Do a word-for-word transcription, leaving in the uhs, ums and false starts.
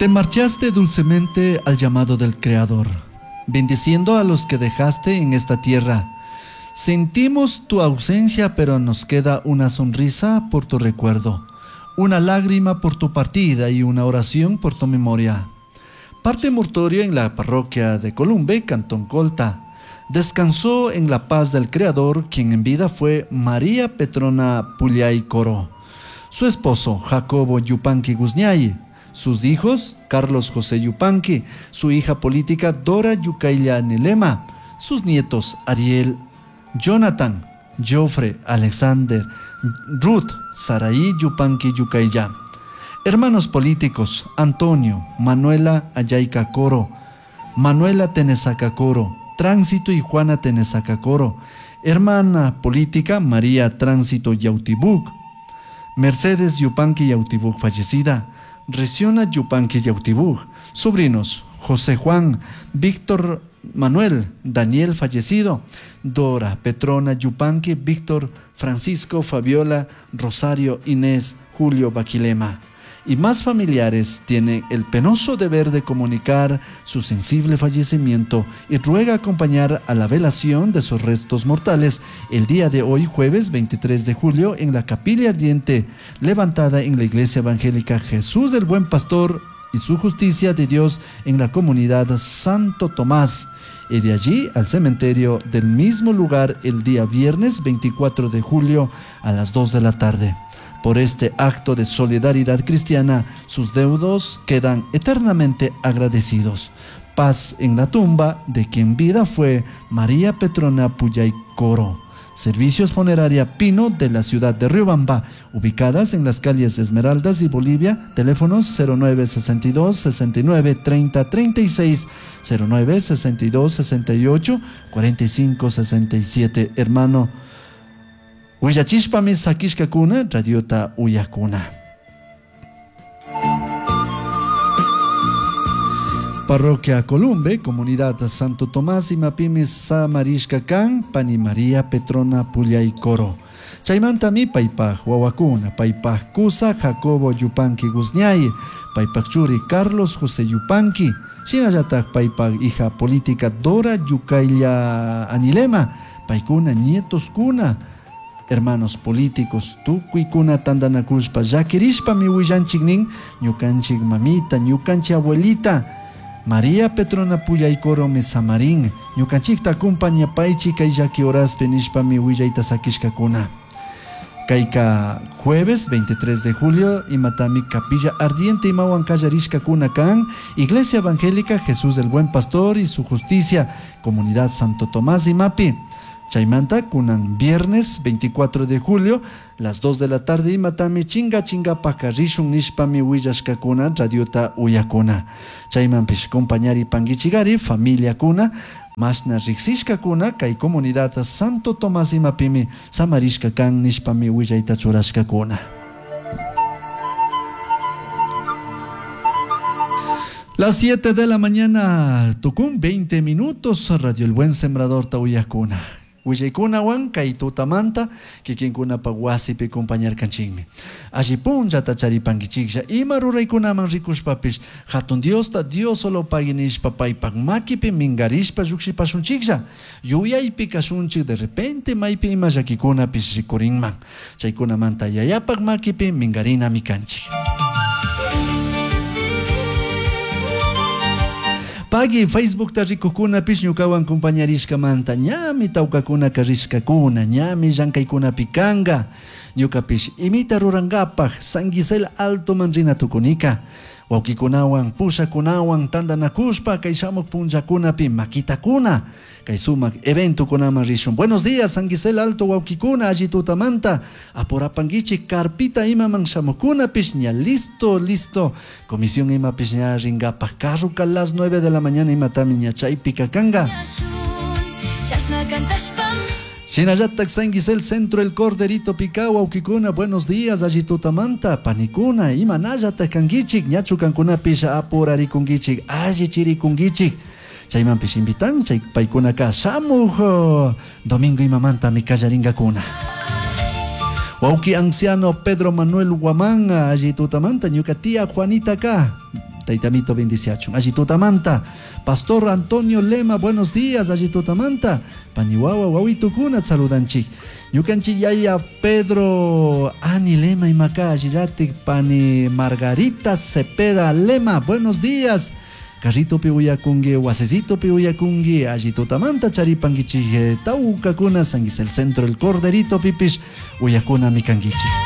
Te marchaste dulcemente al llamado del Creador, bendiciendo a los que dejaste en esta tierra. Sentimos tu ausencia, pero nos queda una sonrisa por tu recuerdo, una lágrima por tu partida y una oración por tu memoria. Parte mortuorio en la parroquia de Columbe, Cantón Colta. Descansó en la paz del Creador, quien en vida fue María Petrona Pullay Coro. Su esposo, Jacobo Yupanqui Guzñay. Sus hijos, Carlos José Yupanqui, su hija política Dora Yucailla Nelema, sus nietos Ariel, Jonathan, Joffre, Alexander, Ruth, Saraí Yupanqui Yucailla. Hermanos políticos, Antonio, Manuela Ayayca Coro, Manuela Tenesaca Coro, Tránsito y Juana Tenesaca Coro, hermana política María Tránsito Yautibuk, Mercedes Yupanqui Yautibuk fallecida, Reciona Yupanqui Yautibuk, sobrinos José Juan, Víctor Manuel, Daniel fallecido, Dora, Petrona Yupanqui, Víctor, Francisco, Fabiola, Rosario, Inés, Julio Baquilema. Y más familiares tienen el penoso deber de comunicar su sensible fallecimiento y ruega acompañar a la velación de sus restos mortales el día de hoy, jueves veintitrés de julio, en la Capilla Ardiente, levantada en la Iglesia Evangélica Jesús el Buen Pastor y su Justicia de Dios en la comunidad Santo Tomás, y de allí al cementerio del mismo lugar el día viernes veinticuatro de julio a las dos de la tarde. Por este acto de solidaridad cristiana, sus deudos quedan eternamente agradecidos. Paz en la tumba de quien vida fue María Petrona Pullay Coro. Servicios Funeraria Pino de la ciudad de Riobamba, ubicadas en las calles Esmeraldas y Bolivia, teléfonos cero nueve sesenta y dos, sesenta y nueve, treinta, treinta y seis, cero nueve sesenta y dos, sesenta y ocho, cuarenta y cinco, sesenta y siete. Hermano Huillachishpami sakishkakuna, radiota uyakuna. Parroquia Columbe, Comunidad Santo Tomás y Mapimi Samarishka Kan, Pani María Petrona Pullay Coro. Chaymantami paypaj wawakuna, paypaj kusa Jacobo Yupanqui Guzñay, paypaj churi Carlos José Yupanqui, shinallataj paypaj hija política Dora Yucailla Anilema, paykuna nietos kuna, hermanos políticos, tukuykuna tandanakushpa, llakirishpami willanchik nin, ñukanchik mamita, ñukanchik abuelita, María Petrona Pullay Coro me samarín, ñukanchikta acompañapaychi kay llaki horaspi nishpami willayta sakishkakuna. Kayka jueves veintitrés de julio, imatami Capilla Ardiente imawan kallarishkakuna kan, Iglesia Evangélica Jesús el Buen Pastor y su Justicia, Comunidad Santo Tomás Imapi. Chaymanta, kunan viernes veinticuatro de julio, las dos de la tarde, imatami chinga chinga pakarishun nishpami willashkakuna, radiota uyakuna. Chaymanpish compañari panguichigari, familia kuna, mashna riksishkakuna, kay comunidad Santo Tomás imapimi, samarishka kan nishpami willayta churashkakuna. Las siete de la mañana, tucum veinte minutos, Radio El Buen Sembrador tauyakuna. Willaykunawan kay tutamanta kikinkunapa wasipi compañarkanchikmi. Alli punllata charipankichiklla ima ruraykunaman rikushpapish hatun Diosta Dios solo pagui nishpa paypak makipi mingarishpa lluqshipashunchiklla. Yuyaypi kashunchik de repente maypi ima llakikunapish rikurinman. Chaykunamanta yayapak makipi mingarinami kanchik. Pagui Facebook ta rikukkunapish ñukawan compañarishkamanta ñami tawkakuna karishkakuna ñami llankaykunapi kanka ñukapish imita rurankapaj San Gisel Alto man rina tukunika wawkikunawan pushakunawan tantanakushpa kay shamuq punllakunapi makitakuna kay sumaq eventokunaman rishun. Buenos días San Gisel Alto wawkikuna alli tutamanta apurapankichik carpita imaman shamuqkunapish ña listo listo comisión imapish ña rinkapaj carruka las nueve de la mañana imatami ña chaypika kanka. Shinallatak San Gisel Centro El Corderito Picao wawkikuna buenos días alli tutamanta panikuna imanallatak kankichik ñachu kankunapish apurarikunkichik alli chirikunkichik. Chaymanpish invitan chay paykunaka shamuq domingo imamantami kallarinkakuna. Wawki anciano Pedro Manuel Guamán alli tutamanta ñuka tía Juanita ka Taitamito bendiciachun. Alli tutamanta. Pastor Antonio Lema, buenos días. Alli tutamanta. Pani wawa wawitukuna saludanchik. Ñukanchik yaya Pedro Ani Lema imaka allillatik pani Margarita Cepeda Lema, buenos días. Carritopi uyakungi, wasecitopi uyakungi, alli tutamanta charipankichik tawkakuna, sanguis el centro el corderito pipish uyakuna mikankichik.